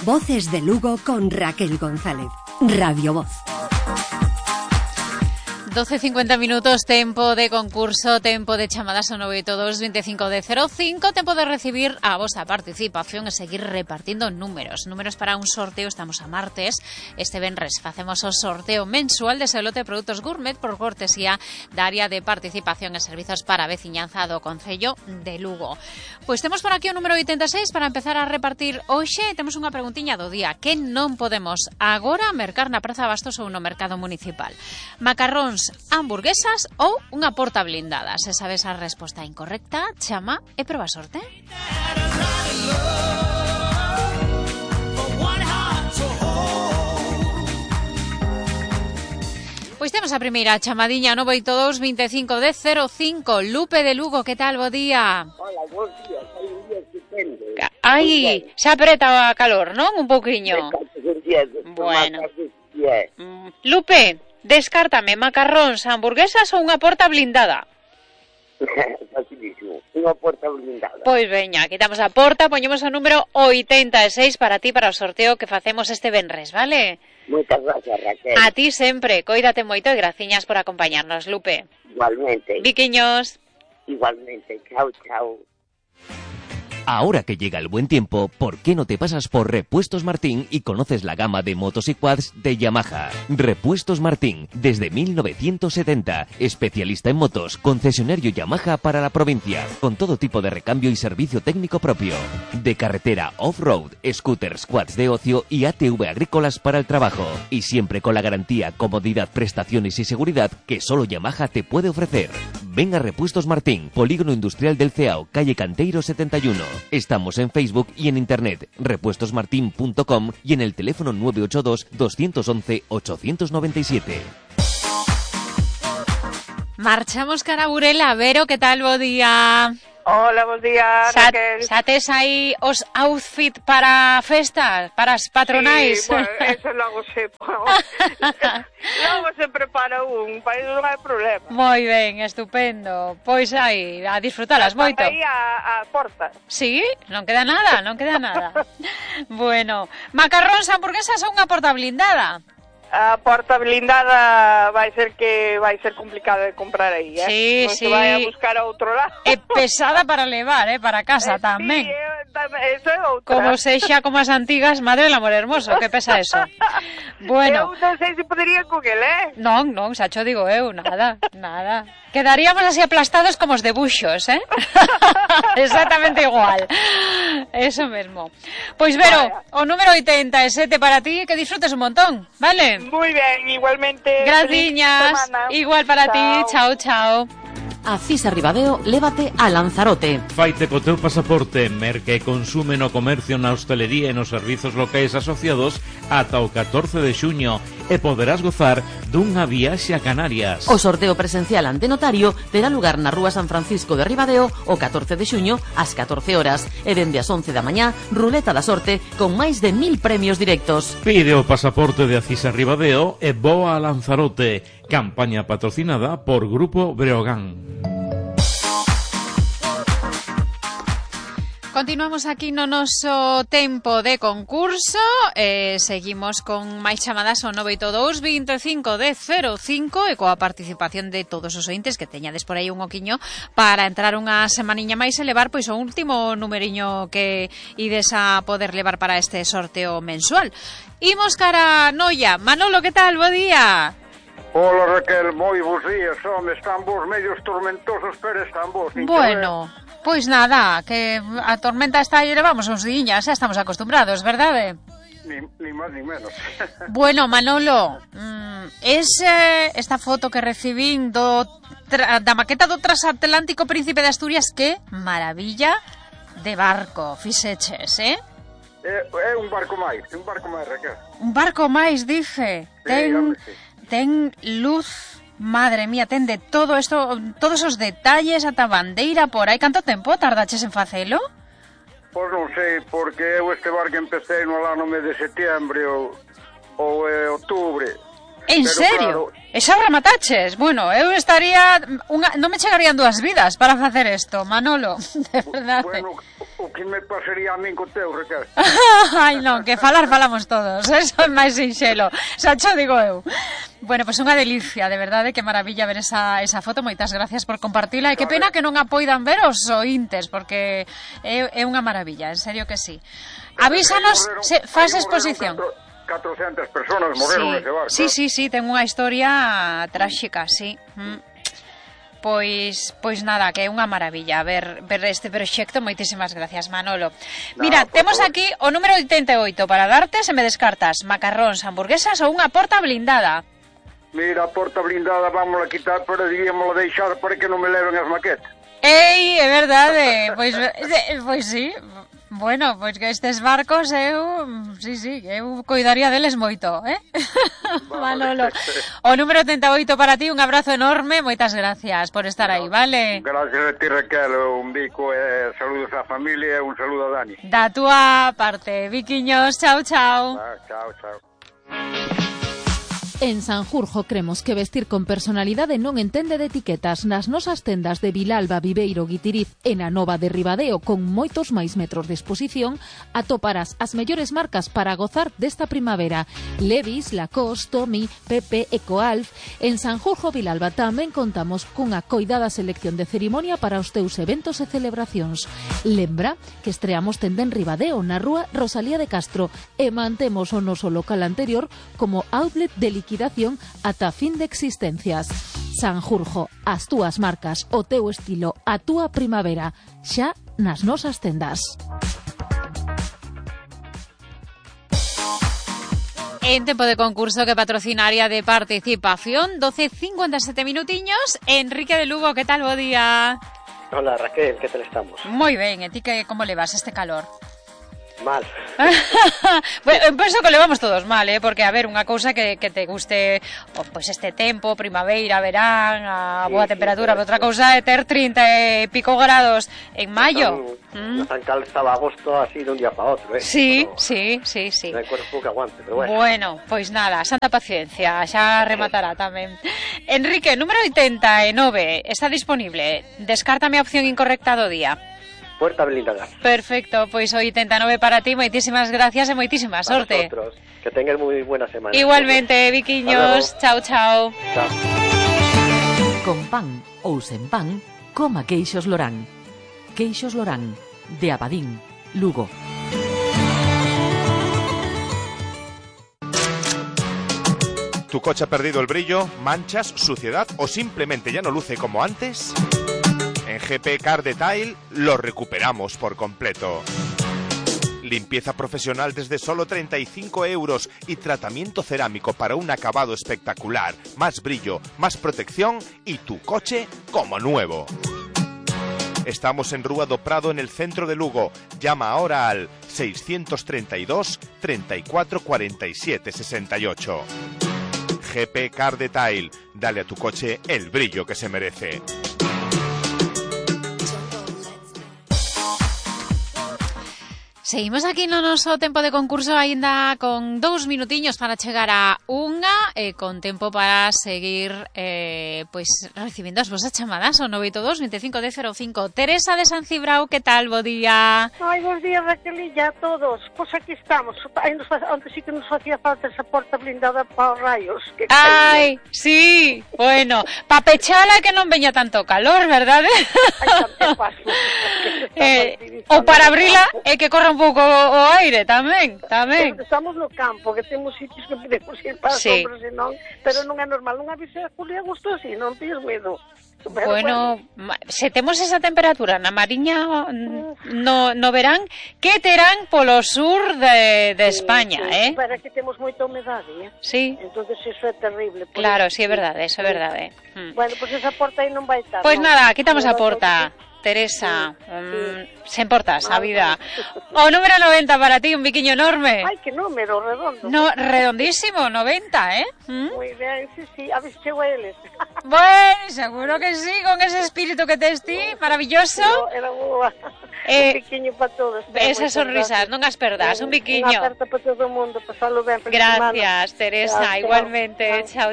Voces de Lugo con Raquel González. Radio Voz. 12:50 minutos, tempo de concurso, tempo de chamadas ao 982-25-05, tempo de recibir a vosa participación e seguir repartindo números para un sorteo. Estamos a martes, este venres facemos o sorteo mensual de Selote Produtos Gourmet por cortesía da área de participación e servizos para a veciñanza do Concello de Lugo. Pois temos por aquí o número 86 para empezar a repartir hoxe. Temos unha preguntiña do día que non podemos agora mercar na Praza Bastos ou no mercado municipal. Macarróns, hamburguesas ou unha porta blindada? Se sabes a resposta incorrecta, chama e proba sorte. Pois temos a primeira chamadiña, 982-25-05. Lupe de Lugo, que tal, bo día? Hola, bons días, hai un día estupendo. Ai, xa apreta a calor, non? Un pouquiño. Bueno. Lupe, descártame macarróns, hamburguesas ou unha porta blindada? Facilísimo, unha porta blindada. Pois veña, quitamos a porta, poñemos o número 86 para ti, para o sorteo que facemos este venres, vale? Moitas gracias, Raquel. A ti sempre, coídate moito e graciñas por acompañarnos, Lupe. Igualmente. Viquiños. Igualmente, chao, chao. Ahora que llega el buen tiempo, ¿por qué no te pasas por Repuestos Martín y conoces la gama de motos y quads de Yamaha? Repuestos Martín, desde 1970, especialista en motos, concesionario Yamaha para la provincia, con todo tipo de recambio y servicio técnico propio. De carretera, off-road, scooters, quads de ocio y ATV agrícolas para el trabajo. Y siempre con la garantía, comodidad, prestaciones y seguridad que solo Yamaha te puede ofrecer. Ven a Repuestos Martín, Polígono Industrial del Ceao, calle Canteiro 71. Estamos en Facebook y en internet, repuestosmartin.com y en el teléfono 982-211-897. Marchamos cara a Burela. Vero, que tal, bo día? Lola, bos días, Raquel. Xa tes aí os outfit para festas, para as patronais? Sí, bueno, eso logo se prepara para iso non hai problema. Moi ben, estupendo. Pois aí, a disfrutalas moito. Aí a porta. Sí, non queda nada. Bueno, macarróns, hamburguesas ou unha porta blindada? A porta blindada vai ser complicado de comprar aí, Sí, non sí. se vai a buscar a outro lado. É pesada para levar, para casa tamén. Sí, eso é outra. Como sexa como as antigas, madre del amor hermoso, que pesa eso. Bueno. Eu non sei se podería con el, Non, xa cho digo eu, nada. Quedaríamos así aplastados como os debuxos, Exactamente igual. Eso mesmo. Pois Vero, o número 87 para ti, que disfrutes un montón, vale? Muy ben, igualmente. Graciñas, igual para ti, chao. A Cisa Ribadeo, lévate a Lanzarote. Faite co teu pasaporte, merca e consume no comercio, na hostelería e nos servizos locais asociados ata o 14 de xuño e poderás gozar dunha viaxe a Canarias. O sorteo presencial ante notario terá lugar na Rúa San Francisco de Ribadeo o 14 de xuño ás 14 horas e dende as 11 da mañá, ruleta da sorte con máis de 1000 premios directos. Pide o pasaporte de Acisa Ribadeo e voa a Lanzarote. Campaña patrocinada por Grupo Breogán. Continuamos aquí no noso tempo de concurso. Seguimos con máis chamadas ao 982-25-05 e coa participación de todos os ointes que teñades por aí un oquiño para entrar unha semaniña máis e levar pois o último numeriño que ides a poder levar para este sorteo mensual. Imos cara a Noia. Manolo, que tal? Bo día. Hola, Raquel, moi bons días, home, están vos medios tormentosos, pero están vos. Bueno, pois nada, que a tormenta está aí, levamos uns diñas, xa estamos acostumbrados, verdade? Ni máis ni menos. Bueno, Manolo, esta foto que recibín da maqueta do transatlántico Príncipe de Asturias, que maravilla de barco, fixeches, É un barco máis, Raquel. Un barco máis, dice. Ten luz, madre mía, ten de todo isto, todos os detalles, ata bandeira por aí. Canto tempo tardaches en facelo? Pois non sei, porque eu este barco empecé no ano mes de setembro ou outubro. En serio? Claro, e xa remataches? Bueno, eu estaría... non me chegarían 2 vidas para facer isto, Manolo, de verdade. Bueno, o o que me pasaría a min co teu, Raquel? Ai, non, que falamos todos, eso é máis sinxelo, xa cho digo eu. Bueno, pois unha delicia, de verdade, que maravilla ver esa foto, moitas gracias por compartila, e que pena que non a poidan ver os ointes, porque é unha maravilla, en serio que sí. Avísanos, faz exposición. 400 personas morreron nese barco. Sí, ten unha historia tráxica, sí. Pois nada, que é unha maravilla ver este proxecto. Moitísimas gracias, Manolo. Mira, temos aquí o número 88 para darte, se me descartas macarróns, hamburguesas ou unha porta blindada. Mira, a porta blindada vámonos a quitar, pero debíamos deixar para que non me leven as maquetas. Ei, é verdade, pois sí. Bueno, pois que estes barcos eu coidaría deles moito, Manolo. O número 88 para ti, un abrazo enorme, moitas gracias por estar aí, vale? Gracias a ti, Raquel, un bico, saludos á familia e un saludo a Dani. Da túa parte, Viquiños, chao. Chao. En Sanjurjo cremos que vestir con personalidade non entende de etiquetas. Nas nosas tendas de Vilalba, Viveiro, Guitiriz e na Nova de Ribadeo, con moitos máis metros de exposición, atoparás as mellores marcas para gozar desta primavera. Levi's, Lacoste, Tommy, Pepe, Ecoalf. En Sanjurjo, Vilalba, tamén contamos cunha coidada selección de cerimonia para os teus eventos e celebracións. Lembra que estreamos tenda en Ribadeo, na rúa Rosalía de Castro, e mantemos o noso local anterior como outlet de liquidación ata fin de existencias. Sanjurjo, as túas marcas, o teu estilo, a túa primavera, xa nas nosas tendas. En tempo de concurso que patrocina área de participación, 12:57 minutiños. Enrique de Lugo, que tal, bo día? Hola, Raquel, que tal estamos? Moi ben, e ti que como levas este calor? Mal. Bueno, penso que levamos todos mal, porque a ver, unha cousa que te guste pois este tempo, primavera, verán, a boa temperatura, pero outra cousa é ter 30 e pico grados en maio. Tan cal estaba agosto así de un día para outro, Sí. Non hai cuerpo que aguante, pero bueno. Bueno, pois nada, santa paciencia, xa rematará tamén. Enrique, número 89, está disponible. Descártame a opción incorrecta do día. Puerta blindada. Perfecto, pois o 89 para ti, moitísimas gracias e moitísima sorte. Para vosotros, que tengas moi buena semana. Igualmente, Viquiños, chao. Chao. Con pan ou sen pan, coma queixos Lorán. Queixos Lorán, de Abadín, Lugo. ¿Tu coche ha perdido el brillo, manchas, suciedad o simplemente ya no luce como antes? En GP Car Detail lo recuperamos por completo. Limpieza profesional desde solo 35 euros y tratamiento cerámico para un acabado espectacular, más brillo, más protección y tu coche como nuevo. Estamos en Rúa do Prado, en el centro de Lugo. Llama ahora al 632 34 47 68. GP Car Detail. Dale a tu coche el brillo que se merece. Seguimos aquí no noso tempo de concurso, aínda con 2 minutiños para chegar a unha, con tempo para seguir pois recibindo as vosas chamadas ao 982 25 10 05. Teresa de San Cibrao, que tal, bo día? Ai, bons días, Raquelilla, a todos. Pois aquí estamos. Onde sí que nos facía falta esa porta blindada para os raios. Ai, sí, bueno, pa pechala que non veña tanto calor, verdade? Ai, tanto paso. Ou para abrila e que corra un pouco o aire tamén. Estamos no campo, que temos sitios que podemos ir para sombras e non, pero non é normal, non avise a Julia a gusto así, non tens medo. Bueno, se temos esa temperatura na Mariña no verán, que terán polo sur de España, Para que temos moita humedade, Sí. Entonces eso é terrible. Claro, sí, é verdade, eso é verdade. Bueno, pois esa porta aí non vai estar. Pois nada, quitamos a porta. Teresa, sen portas, a vida. O número 90 para ti, un biquiño enorme. Ai, que número, redondo. No, redondísimo, 90, Moi ben, sí, a ver se chego a eles. Bueno, seguro que sí, con ese espíritu que tes ti, maravilloso. Era boa. Un biquiño para todos. Esas sonrisas, non as perdas, un biquiño. Unha aperta para todo o mundo, pasalo ben. Gracias, Teresa, igualmente. Chao.